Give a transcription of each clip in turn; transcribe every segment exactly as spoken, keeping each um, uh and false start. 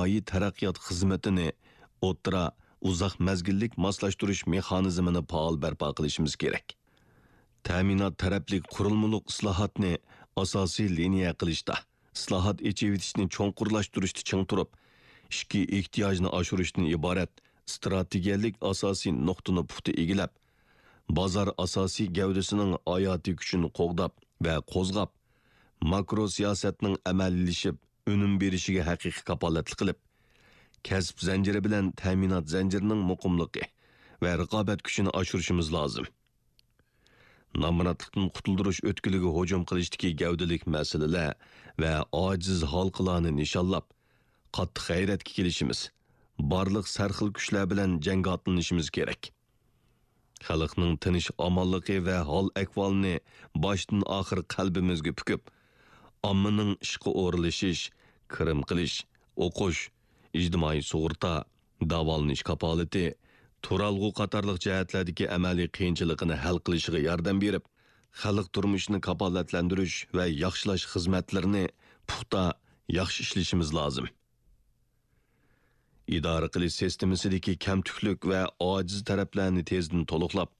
ئىجتىمائىي تەرەققىيات خىزمىتىنى ئوتتۇرا، ئۇزاق مەزگىللىك ماسلاشتۇرۇش مېخانىزمىنى پائال بەرپا قىلىشىمىز كېرەك. تەمىنات تەرەپلىك قۇرۇلمىلىق ئىسلاھاتنى ئاساسىي لىنىيە قىلىشتا، ئىسلاھات، ئېچىۋېتىشنى چوڭقۇرلاشتۇرۇشتا چىڭ تۇرۇپ، ئىچكى ئېھتىياجنى ئاشۇرۇشتىن ئىبارەت ئىستراتېگىيەلىك ئاساسىي نۇقتىنى پۇختا ئىگىلەپ، بازار ئاساسىي گەۋدىسىنىڭ ھاياتىي كۈچىنى قوغداپ ۋە قوزغاپ، ماكرو سىياسەتنىڭ ئەمەلىيلىشىپ، ئۈنۈم بېرىشىگە ھەقىقىي كاپالەتلىك قىلىپ، كەسىپ زەنجىرى بىلەن تەمىنات زەنجىرىنىڭ مۇقىملىقى ۋە رىقابەت كۈچىنى ئاشۇرۇشىمىز لازىم. نامراتلىقتىن قۇتۇلدۇرۇش ئۆتكىلىگە ھۇجۇم قىلىشتىكى گەۋدىلىك مەسىلىلەر ۋە ئاجىز ھالقىلارنى نىشانلاپ، قاتتىق غەيرەتكە كېلىشىمىز، بارلىق سەرخىل كۈچلەر بىلەن جەڭگە ئاتلىنىشىمىز كېرەك. خەلقنىڭ تىنچ-ئامانلىقى ۋە ھال-ئەھۋالىنى باشتىن-ئاخىر قەلبىمىزگە پۈكۈپ، ئاممىنىڭ ئىشقا ئورۇنلىشىش، كىرىم قىلىش، ئوقۇش، ئىجتىمائىي سۇغۇرتا، داۋالىنىش كاپالىتى، تۇرالغۇ قاتارلىق جەھەتلەردىكى ئەمەلىي قىيىنچىلىقىنى ھەل قىلىشىغا ياردەم بېرىپ، خەلق تۇرمۇشىنى كاپالەتلەندۈرۈش ۋە ياخشىلاش خىزمەتلىرىنى پۇختا، ياخشى ئىشلىشىمىز لازىم. ئىدارە قىلىش سىستېمىسىدىكى كەمتۈكلۈك ۋە ئاجىز تەرەپلەرنى تېزدىن تولۇقلاپ،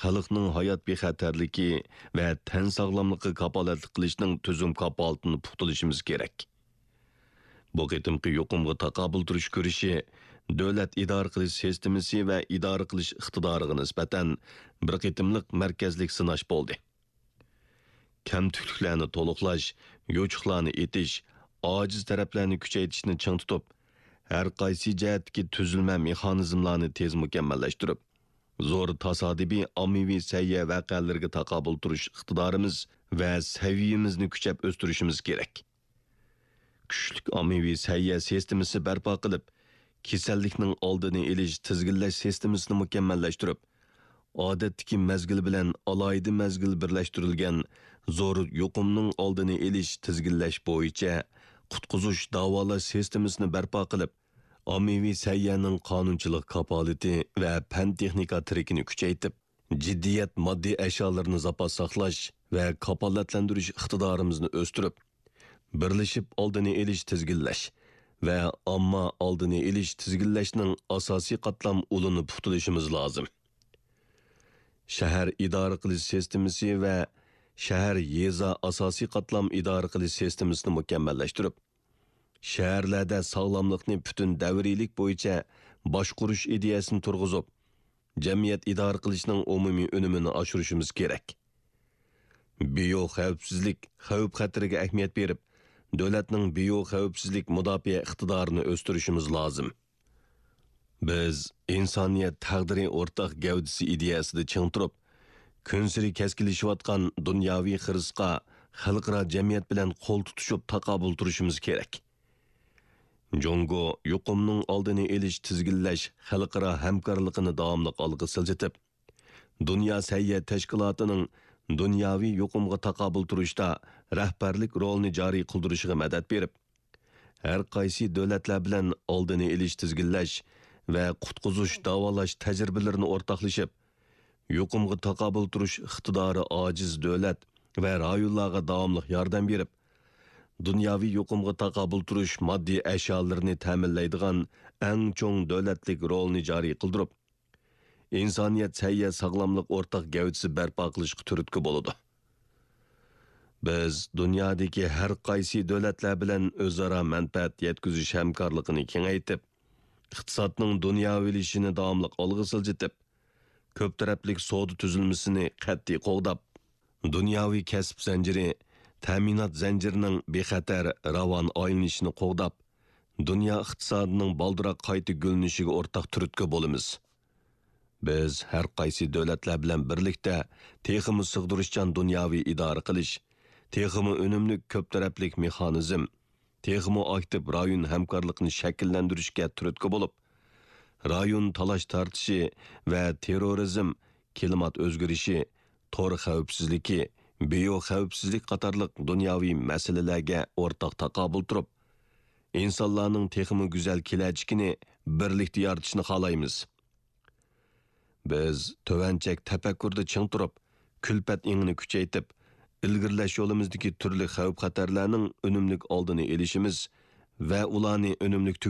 خەلقنىڭ ھايات بىخەتەرلىكى ۋە تەن ساغلاملىقىغا كاپالەتلىك قىلىشنىڭ تۈزۈم كاپالىتىنى پۇختىلىشىمىز كېرەك. بۇ قېتىمقى يۇقۇمغا تاقابىل تۇرۇش كۈرىشى دۆلەت ئىدارە قىلىش سىستېمىسى ۋە ئىدارە قىلىش ئىقتىدارىغا نىسبەتەن بىر قېتىملىق مەركەزلىك سىناش بولدى. كەمتۈكلۈكلەرنى تولۇقلاش، يوچۇقلارنى ئېتىش، ئاجىز تەرەپلەرنى كۈچەيتىشنى چىڭ تۇتۇپ، ھەر قايسى جەھەتتىكى تۈزۈلمە مېخانىزملارنى تېز مۇكەممەللەشتۈرۈپ، زور تاسادىپىي ئاممىۋى سەھىيە ۋەقەلىرىگە تاقابىل تۇرۇش ئىقتىدارىمىز ۋە سەۋىيەمىزنى كۈچەپ ئۆستۈرۈشىمىز كېرەك. كۈچلۈك ئاممىۋى سەھىيە سىستېمىسى بەرپا قىلىپ، كېسەللىكنىڭ ئالدىنى ئېلىش تىزگىنلەش سىستېمىسىنى مۇكەممەللەشتۈرۈپ، ئادەتتىكى مەزگىل بىلەن ئالاھىدە مەزگىل بىرلەشتۈرۈلگەن زور يۇقۇمنىڭ ئالدىنى ئېلىش تىزگىنلەش بويىچە قۇتقۇزۇش داۋالاش سىستېمىسىنى بەرپا قىلىپ، ئاممىۋى سەھىيەنىڭ قانۇنچىلىق كاپالىتى ۋە پەن-تېخنىكا تىرىكىنى كۈچەيتىپ، جىددىيەت ماددىي ئەشيالىرىنى زاپاس ساقلاش ۋە كاپالەتلەندۈرۈش ئىقتىدارىمىزنى ئۆستۈرۈپ، بىرلىشىپ ئالدىنى ئېلىش تىزگىنلەش ۋە ئامما ئالدىنى ئېلىش تىزگىنلەشنىڭ ئاساسىي قاتلام ئۇلىنى پۇختىلىشىمىز لازىم. شەھەر ئىدارە قىلىش سىستېمىسى ۋە شەھەر يېزا ئاساسىي قاتلام ئىدارە قىلىش سىستېمىسىنى مۇكەممەللەشتۈرۈپ، شەھەرلەردە ساغلاملىقنى پۈتۈن دەۋرىيلىك بويىچە باشقۇرۇش ئىدىيەسىنى تۇرغۇزۇپ، جەمئىيەت ئىدارە قىلىشنىڭ ئومۇمىي ئۈنۈمىنى ئاشۇرۇشىمىز كېرەك. بىيو خەۋپسىزلىك خەۋپ-خەتىرىگە ئەھمىيەت بېرىپ، دۆلەتنىڭ بىيو خەۋپسىزلىك مۇداپىئە ئىقتىدارىنى ئۆستۈرۈشىمىز لازىم. بىز ئىنسانىيەت تەقدىرى ئورتاق گەۋدىسى ئىدىيەسىدە چىڭ تۇرۇپ، كۈنسېرى كەسكىنلىشىۋاتقان دۇنياۋى خىرىسقا خەلقئارا جەمئىيەت بىلەن قول تۇتۇشۇپ تاقابىل تۇرۇشىمىز كېرەك. جۇڭگو يۇقۇمنىڭ ئالدىنى ئېلىش، تىزگىنلەش خەلقئارا ھەمكارلىقىنى داۋاملىق ئالغا سىلجىتىپ، دۇنيا سەھىيە تەشكىلاتىنىڭ دۇنياۋى يۇقۇمغا تاقابىل تۇرۇشتا رەھبەرلىك رولىنى جارى قىلدۇرۇشىغا مەدەت بېرىپ، ھەر قايسى دۆلەتلەر بىلەن ئالدىنى ئېلىش، تىزگىنلەش ۋە قۇتقۇزۇش، داۋالاش تەجرىبىلىرىنى ئورتاقلىشىپ، يۇقۇمغا تاقابىل تۇرۇش ئىقتىدارى ئاجىز دۆلەت ۋە رايونلارغا داۋاملىق ياردەم بېرىپ، دۇنياۋى يۇقۇمغا تاقابىل تۇرۇش ماددىي ئەشيالىرىنى تەمىنلەيدىغان ئەڭ چوڭ دۆلەتلىك رولنى جارى قىلدۇرۇپ، ئىنسانىيەت سەھىيە ساغلاملىق ئورتاق گەۋدىسى بەرپا قىلىشقا تۈرتكە بولىدۇ. بىز دۇنيادىكى ھەر قايسى دۆلەتلەر بىلەن ئۆزئارا مەنپەئەت يەتكۈزۈش ھەمكارلىقىنى كېڭەيتىپ، ئىقتىسادنىڭ دۇنياۋىلىشىشىنى داۋاملىق ئالغا سىلجىتىپ، كۆپ تەرەپلىك سودا تۈزۈلمىسىنى قەتئىي قوغداپ، دۇنياۋى كەسىپ زەنجىرى، تەمىنات زەنجىرىنىڭ بىخەتەر، راۋان ئايلىنىشىنى قوغداپ، دۇنيا ئىقتىسادىنىڭ بالدۇرراق قايتا گۈللىنىشىگە ئورتاق تۈرتكە بولىمىز. بىز ھەر قايسى دۆلەتلەر بىلەن بىرلىكتە تېخىمۇ سىغدۇرۇشچان دۇنياۋى ئىدارە قىلىش، تېخىمۇ ئۈنۈملۈك كۆپ تەرەپلىك مېخانىزم، تېخىمۇ ئاكتىپ رايون ھەمكارلىقىنى شەكىللەندۈرۈشكە تۈرتكە بولۇپ، رايون تالاش-تارتىشى ۋە تېررورىزم، كىلىمات ئۆزگىرىشى، تور خەۋپسىزلىكى، بىيو خەۋپسىزلىك قاتارلىق دۇنياۋى مەسىلىلەرگە ئورتاق تاقابىل تۇرۇپ، ئىنسانلارنىڭ تېخىمۇ گۈزەل كېلەچىكىنى بىرلىكتە يارىتىشنى خالايمىز. بىز تۆۋەن چەك تەپەككۇردا چىڭ تۇرۇپ، كۈلپەت ئېڭىنى كۈچەيتىپ، ئىلگىرىلەش يولىمىزدىكى تۈرلۈك خەۋپ-خەتەرلەرنىڭ ئۈنۈملۈك ئالدىنى ئېلىشىمىز ۋە ئۇلارنى ئۈنۈملۈك